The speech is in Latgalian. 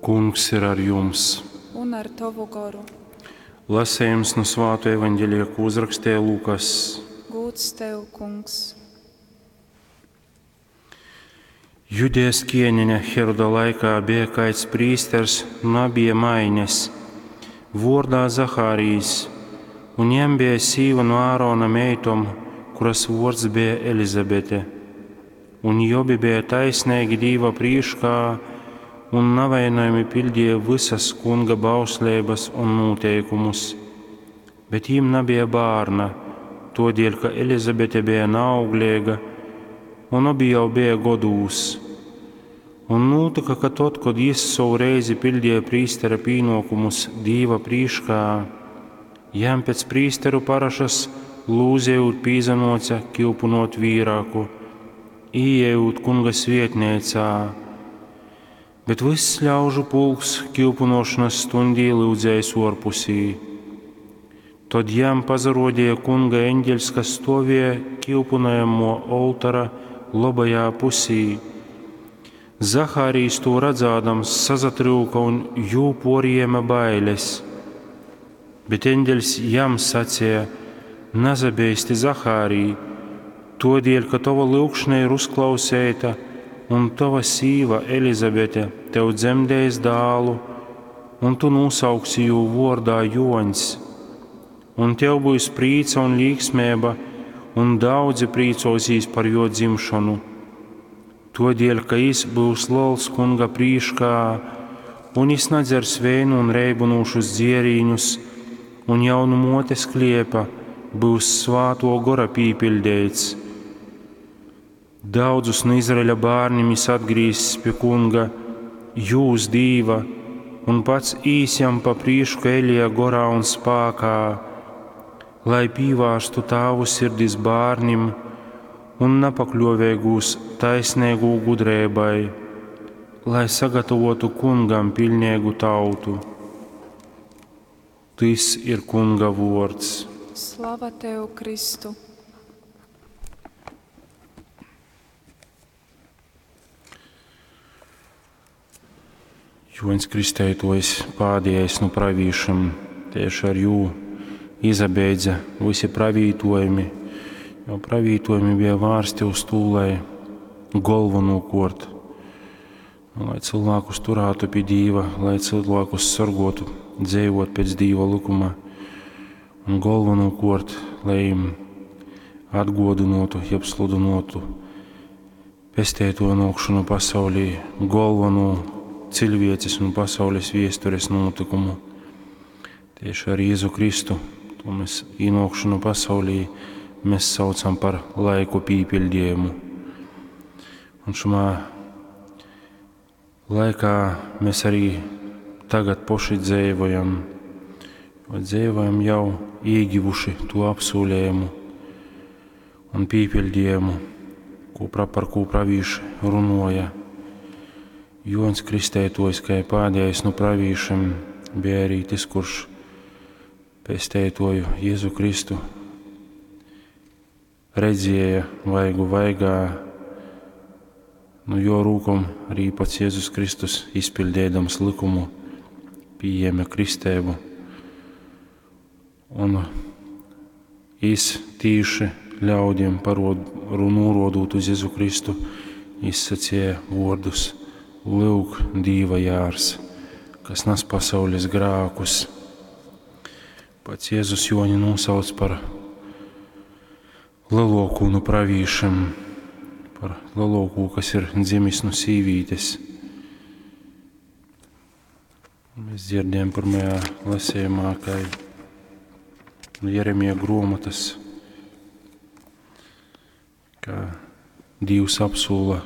Kungs ir ar jums! Un ar tovu goru. Lasējums nu Svāto evaņģelija, ko uzrakstīja Lukas. Gūds tev, Kungs! Judejas ķēniņa Heroda laikā bija kāds prīsters no Abija maines, vordā Zahārijs, un jam bija sīva no Ārona meitom, kuras vords bija Elizabete. Un jobi bija taisnīgi Dīva prīškā un navainojami pildīja visas kunga bauslības un noteikumus. Bet jim nebija bērna, todēļ, ka Elizabete bija naauglīga, un abi jau bija godūs. Un notika, ka tad, kad jis savu reizi pildīja prīstera pienākumus Dīva prīškā, jam pēc prīsteru parašas lūzējot pīzanoca kilpunot vīrāku, ieejot kunga svietnēcā. Bet viss ļaužu pulks kilpunošanas stundī lūdzējis orpusī. Tad jam pazarodīja kunga eņģeļs, kas stovēja kilpunojamo oltara labajā pusī. Zahārijs to redzādams sazatryuka un jū porījēma bailes. Bet eņģeļs jam sacīja: Nazabeisti, Zahārij, todēļ, ka tava lūgšana ir uzklausēta, un tava sīva Elizabete tev dzemdēs dālu, un tu nosauksi jū vordā Joņs. Un tev būs prīca un līksmība, un daudzi prīcosīs par jo dzimšanu. Todēļ, ka jis būs liels kunga prīškā, un jis nedzers vēnu un reibunošus dzierīņus, un jau nu motes kliepa būs svāto gora pīpildēts. Daudzus no Izraeļa bērniem jis atgrīzs pie kunga, jūs dīva, un pats īs jam pa prīšku Elija gorā un spākā, lai pīvārstu tāvu sirdis bērnim un napakļovēgūs taisnīgu gudrībai, lai sagatavotu kungam pilnīgu tautu. Tis ir kunga vords. Slava tev, Kristu! Joņs Kristētojs pādējais no pravīšiem, tieši ar jū izabeidza visi pravītojumi, jo pravītojumi bija vārsti uz tū, lai galvenokārt, nu, lai cilvēkus turētu pie Dīva, lai cilvēkus sargotu, dzīvot pēc Dīva likuma, un galvenokārt, lai им atgodinotu, jeb sludinotu pestēto nokšanu pasaulī, galveno cilvēces un pasaules viestures notikumu. Tieši ar Jēzu Kristu, to mēs ienākšanu pasaulī, mēs saucam par laiku pīpildījumu. Un šumā laikā mēs arī tagad poši dzīvojam, jo dzīvojam jau iegivuši to apsolījumu un pīpildījumu, ko par ko pravīši runoja. Joņs Kristētojs, kā pādējais no pravīšiem, bija arī tas, kurš pestētoju Jēzu Kristu redzēja vaigu vaigā, nu jo rūkom arī pats Jēzus Kristus izpildēdams likumu pieņēma kristēbu un īs tīši ļaudiem parod, norodot uz Jēzu Kristu, izsacīja vārdus: Lūk, Dīva jārs, kas nes pasaules grākus. Pats Jēzus Joni nosauc par lielāko no pravīšiem, par lielāko, kas ir dzimis no sīvītes. Mēs dzirdējām pirmajā lasījumā, ka no Jeremija grāmatas, ka Dievs apsola